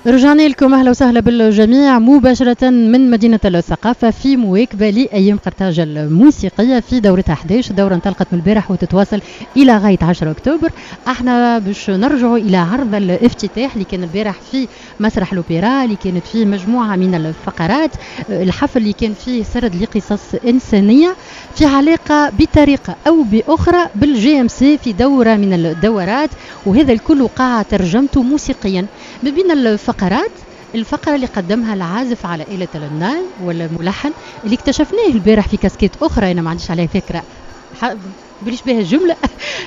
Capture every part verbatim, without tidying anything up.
رجعنا لكم، اهلا وسهلا بالجميع مباشرة من مدينة الثقافة في مواكبة لايام قرطاج الموسيقية في دورتها أحد عشر. الدورة انطلقت من البارح وتتواصل الى غاية عشرة اكتوبر. احنا باش نرجعوا الى عرض الافتتاح اللي كان البارح في مسرح الاوبرا، اللي كانت فيه مجموعة من الفقرات. الحفل اللي كان فيه سرد لقصص انسانيه في علاقة بطريقة او باخرى بال JMC في دوره من الدورات، وهذا الكل وقع ترجمته موسيقيا. ما بين الفقرات الفقرة اللي قدمها العازف على آلة الناي والملحن اللي اكتشفناه البارح في كاسكيت أخرى، أنا ما عنديش عليها فكرة بليش بها الجملة.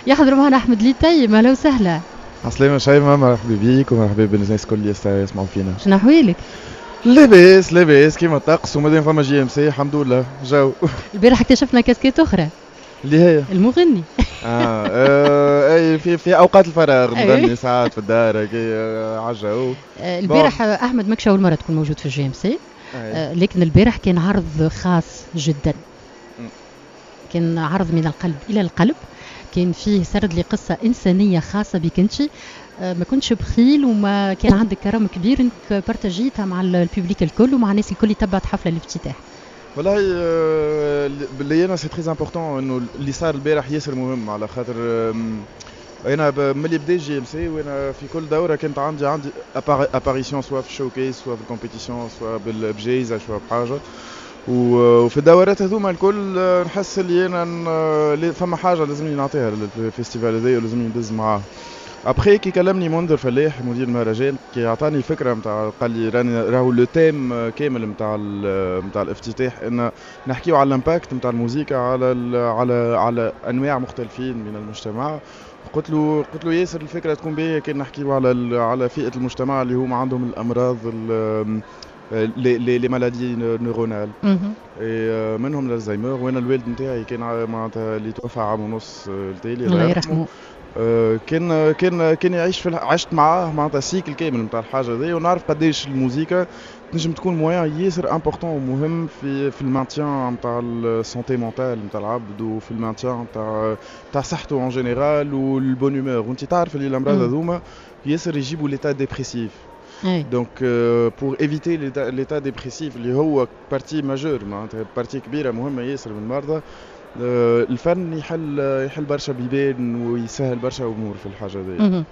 يحضر معنا أحمد ليتيم، أهلا وسهلا. عسلامة شيماء، مرحبا بيك ومرحبا بالناس الكل اللي يسمعوا فينا. شنو أحوالك؟ لاباس لاباس كيما الطقس، ومادام فما JMC الحمد لله جو. البارح اكتشفنا كاسكيت أخرى اللي هي المغني. اه, آه اي في في اوقات الفراغ نغني ساعات في الدار كي عالجو. البارح احمد ماكش اول مرة تكون موجود في ال JMC، آه لكن البارح كان عرض خاص جدا، كان عرض من القلب الى القلب، كان فيه سرد لقصة انسانيه خاصة بك انت. آه ما كنتش بخيل وما كان عندك كرم كبير انك partagيتها مع ال public الكل ومع الناس الكل اللي تبعت حفلة الافتتاح. والله باللي انا c'est très important انه اللي صار البارح ياسر مهم، على خاطر انا ملي بدا JMC وانا في كل دوره كانت عندي عندي apparition، سواء في ال showcase، سواء في ال compétition، سواء بجايزه، سواء بحاجه. وفي الدورات هذوما الكل نحس اللي انا فما حاجة لازمني نعطيها لل festival هذايا ولازمني ندز معاه. après كي كلمني منذر فلاح مدير المهرجان، كي عطاني فكرة نتاع، قال لي راني راهو le thème كامل نتاع نتاع الافتتاح ان نحكيو على ال impact نتاع الموسيقى على على على انواع مختلفين من المجتمع. قلت له قلت له ياسر الفكرة تكون باهيه كان نحكيو على على فئة المجتمع اللي هما عندهم الامراض، les les les maladies neuronales، منهم الالزهايمر. وانا الوالد نتاعي كان معناتها اللي توفى عام ونص التالي، الله يرحمه، كان كان كان يعيش في، عشت معاه معناتها cycle كامل نتاع الحاجة هذه، ونعرف قداش الموسيقى تنجم تكون moyen ياسر important ومهم في في ال maintien نتاع ال santé mentale نتاع العبد، وفي ال maintien نتاع نتاع صحته en général وال bonne humeur. وانت تعرف اللي الامراض هذوما ياسر يجيبوا l'état dépressif، donc pour éviter l'état dépressif اللي هو partie majeure، معناتها partie كبيرة مهمة ياسر من المرضى، الفن يحل يحل برشا بيبان ويسهل برشا امور في الحاجة دي.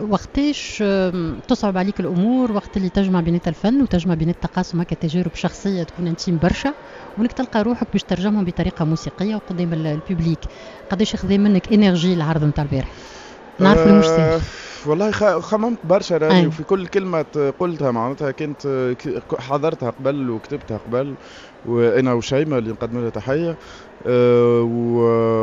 وقتاش تصعب عليك الامور؟ وقت اللي تجمع بين الفن وتجمع بين التقاسم هكا تجارب شخصية تكون intime برشا، وانك تلقى روحك باش ترجمهم بطريقة موسيقية وقدام ال public، قداش خذا منك énergie العرض نتاع البارح؟ نعرف مش سهل. والله خممت برشا راني، وفي كل كلمة قلتها معناتها كنت حضرتها قبل وكتبتها قبل، وانا وشيماء اللي نقدم لها تحيه، أه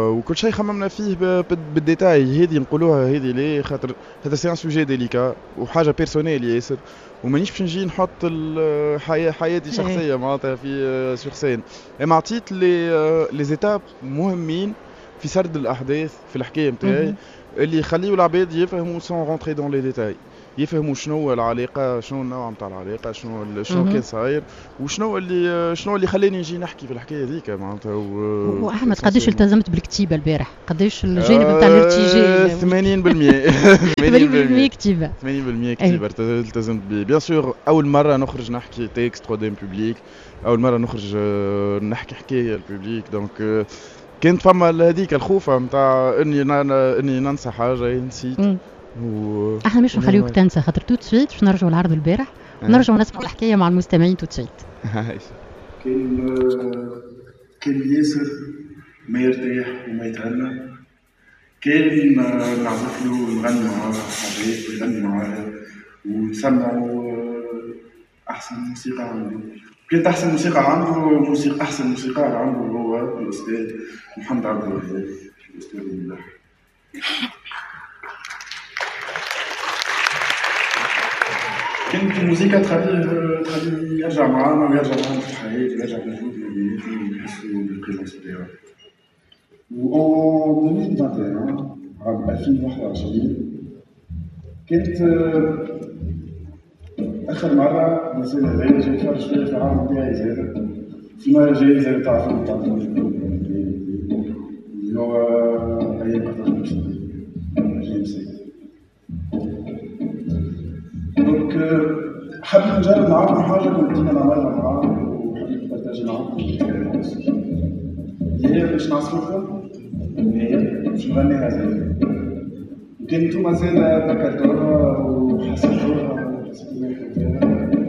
وكل شيء خممنا فيه بال détail. هذه نقولوها هذه ليه؟ خاطر هذا c'est un sujet délicat وحاجه personnelle ياسر، ومانيش باش نجي نحط الحياة حياتي الشخصية معناتها في sur scène. اما عطيت les les étapes مهمين في سرد الاحداث في الحكاية نتاعي اللي يخليو العباد يفهموا sans rentrer dans les détails، يفهموا شنو هو العلاقه، شنو النوع نتاع العلاقه، شنو شنو كان صاير، وشنو اللي شنو اللي خلاني نجي نحكي في الحكاية هذيك معناتها. و... واحمد قداش التزمت بالكتيبه البارح؟ قداش الجانب نتاع الارتجال؟ ثمانين بالمية. ثمانين بالمية كتيبه. ثمانين بالمية كتيبة التزمت به. bien sûr اول مرة نخرج نحكي texte قدام public، اول مرة نخرج نحكي حكاية ال public، donc كانت فما هذيك الخوفه نتاع اني اني ننسى حاجه، نسيت. و... احنا مش نخليوك تنسى، خاطر tout de suite باش نرجعوا العرض البارح ونرجعوا نسمعوا الحكاية مع المستمعين tout de suite. كان كان ياسر ما يرتاح وما يتهنى كان نعزف له ونغني معاه حاجات ويغني معاه ونسمعوا احسن موسيقى عنده. كانت احسن موسيقى عنده موسيقى احسن موسيقار عنده هو الاستاذ محمد عبد الوهاب، الاستاذ الملحن. كانت الموسيقى تخليه تخليه يرجع معانا ويرجع معانا في الحياة ويرجع موجود ما بيناتنا ونحسوا بال présence تاعو. و en ألفين وواحد وعشرين، عام ألفين وواحد وعشرين، كانت آخر مرة الإنسان هذايا جاي يتفرج فيا في العالم نتاعي زاد في مهرجان زاد تعرفوا تاع اللي هو أيام قرطاج JMC. donc حبيت نجرب معاكم حاجة كنت ديما نعملها معاكم وحبيت ن partager معاكم ال expérience اللي هي باش نعزف لكم أغنية باش نغنيها زي وكان نتوما زادا ذكرتوها وحسيتوها وحسيتوا فيها.